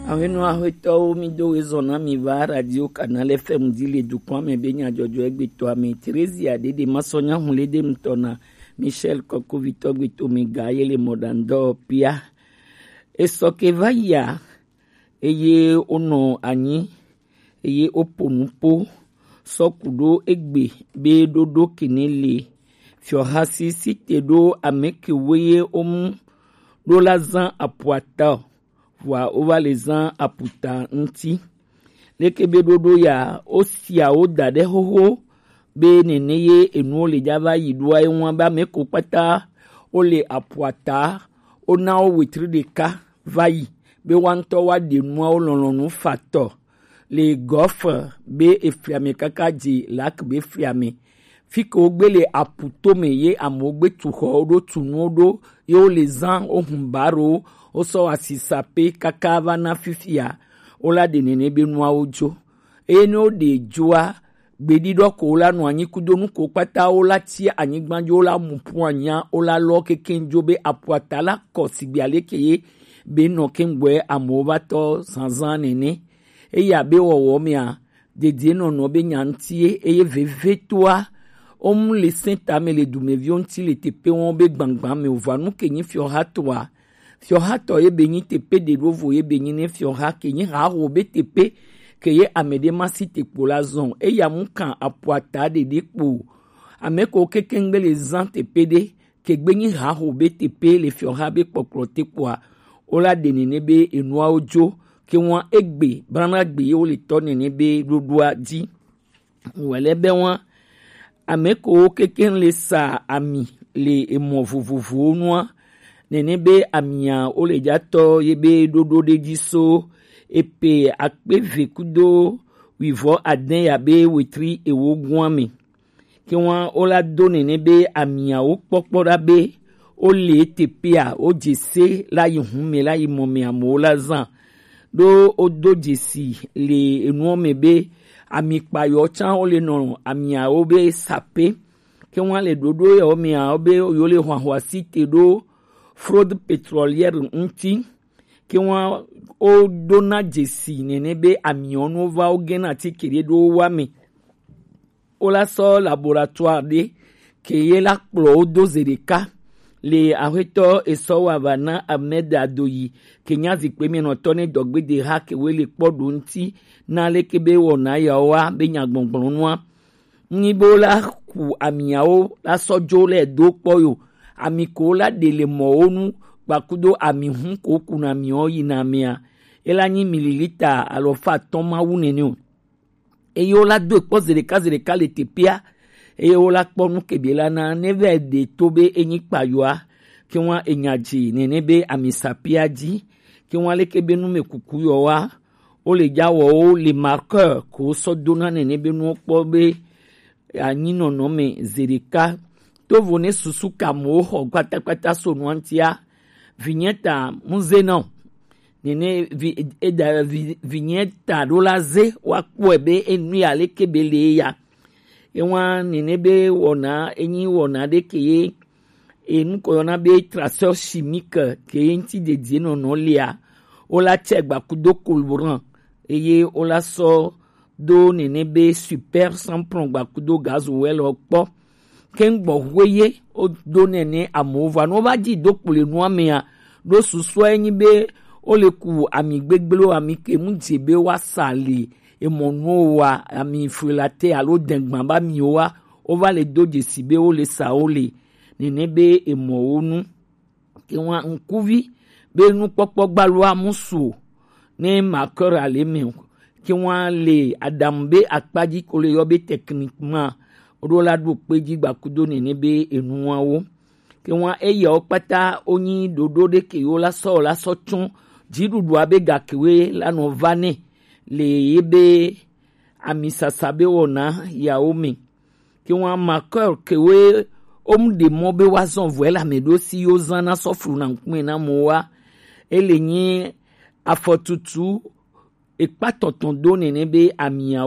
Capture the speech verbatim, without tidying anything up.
Ahwenu ahwetɔwo, mi do wezɔn na mi va Radio Canal F M di le dukɔa me be nyadzɔdzɔ egbe tɔ ame. Theresia Dede Masɔnya Hunlede ŋutɔ na Michel Kɔkovitɔ gbe to mi ga ye le mɔɖaŋdɔ pia. Esɔ ke va yia, eye wonɔ anyi, eye wopo nupo sɔ ku ɖo egbe be ɖoɖo kene le fiɔha si si te ɖo ame kewo ye womu ɖo la zan apuata o, vɔa wova le zan aputa ŋuti. Leke be ɖoɖo ya, wosia wo da ɖe xoxo be nene ye enuwo le dza va yi ɖoa, eŋua be ame ko kpata wole apuata, wona wo wetri ɖeka va yi be woa ŋutɔ woaɖe nuawo lɔlɔ̃nu fatɔ le gɔfe be efliame kaka dze lak be fliame. Fi ke wogbe le apu tome ye amewo gbe tu xɔwo ɖo, tu nuwo ɖo, ye wole zã wohun barowo, wosɔ asisa pe kaka va na fifia, wola ɖe nene be nuawo dzo. Eye ne woɖe dzoa, gbeɖiɖɔ ko wola nɔ anyi kudo nu ko kpata wola tsi anyigba dzi, wola mu ƒu anya, wola lɔ kekeŋ dzo be apuata la kɔ sigbe aleke ye be nɔ keŋgbɔe amewo va tɔ zazã nene. Eya be wɔwɔ mea, dedienɔnɔ be nya ŋuti ye, eye vevetoa, womu le sẽtame le dumeviwo ŋuti le teƒe wɔm be gbãgbã me wòva nu ke nyi fiɔhatɔa. Fiɔhatɔ ye be nyi teƒe ɖe ɖo vo ye be nyi ne fiɔha ke nyi haho be teƒe ke ye ame ɖe ma si te kpo la zɔn. Eya mu kan apuata ɖeɖe kpo. Ame ko kekeŋgbe le zã teƒe ɖe ke gbe nyi haho be teƒe le fiɔha be kpɔkplɔ te kpoa, wola ɖe nene be enuawo dzo ke wɔn egbe, blana gbe ye wole tɔ nene be ɖoɖoa dzi. Wòle be wɔn ame kewo kekeŋ le sa ami le emɔ vovovowo nua, nene be amia wole dza tɔ ye be ɖoɖo ɖe dzi so epe akpe eve kudo wuivɔ ade ya be wetri ewo gua me. Ke wɔn wola do nene be amiawo kpɔkpɔ ɖa be wole teƒea, wodze se la yi hume la yi mɔ me amewo la zã. Ɖo wodo dzesi le enuɔ me be ami kpayɔ tsã wole nɔ amiawo be sape. Ke wɔn le ɖoɖo yawo mea, wo be yewo le hwahwasi te ɖo fraude pétrolière ŋuti. Ke wɔn wodona dzesi nene be amiɔnuwo va wogena atike ɖe ɖo wowa me. Wola sɔ laboratoire ɖe ke ye la kplɔ wo do ze ɖeka le axwetɔ esɔ wa va na Ahmed Adoyi ke nya zikpe mienɔtɔ ne dɔgbede ha ke we le kpɔ ɖo ŋuti na leke be wɔna yawoa be nyagbɔgblɔnua. Nyi be wola ku amiawo la sɔ dzo le do kpɔ yo. Ami ko wola ɖe le mɔwo nu kpakudo ami hun ko kuna miwo yina mea, ela nyi mililita alɔfa atɔ̃ ma wu nene o. Eye wola do kpɔ ze ɖeka ze ɖeka le teƒea, eye wola kpɔ nu ke be la na ne vɛ ɖe to be enyi kpayoa, ke wa enya dzi nene be ami sapia dzi, ke wa leke be nu me kuku yɔ wa, wole dza wɔwo le marqueur ko sɔ dona nene be nuwo kpɔ be anyinɔnɔ me ze ɖeka. Tovo ne susu ka amewo xɔ kpatakpata so nua ŋutia, vinyeta muze na o. Nene vi eda vi vinyeta ɖo la ze woakpɔe be enu ya leke be le ya. Ewa nene be wɔna enyi wɔna ɖe ke ye enu ko yɔna be traceur chimique ke ye ŋuti dedie nɔnɔ lia, wola tsɛ gbakudo colorant eye wola sɔ do nene be super sans plomb gbakudo gasoil kpɔ. Ke gbɔ hwe ye wodo nene amewo va no va dzi do kple nua mea, ɖo susua enyi be wole ku ami gbegblẽwo, ami ke mu dze be woasa le emɔ nuwo wa, ami frilate alo dengban ba miwo wa, wova le do dzesi be wole sa wo le nene be emɔwo nu. Ke wa ŋkuvi be nukpɔkpɔ gbaloa musu o ne marqueur ale me o. Ke wa le aɖaŋu be akpadzi ko le yɔ be techniquement woɖo la ɖo kpe dzi gbakudo nene be enuawo. Ke wa eyawo kpata wonyi ɖoɖo ɖe ke wo la sɔ la sɔ tsɔ dziɖuɖua be gakewe la nɔ va nɛ le ye be amisasa be wɔna yawo me. Ke wa marqueur kewe wom ɖe mɔ be woazɔ vɔe le ame ɖo si yo zã na sɔ flu na ŋkume na mo wa. Ele nyi afɔtutu ekpa tɔtɔn do nene be amiawo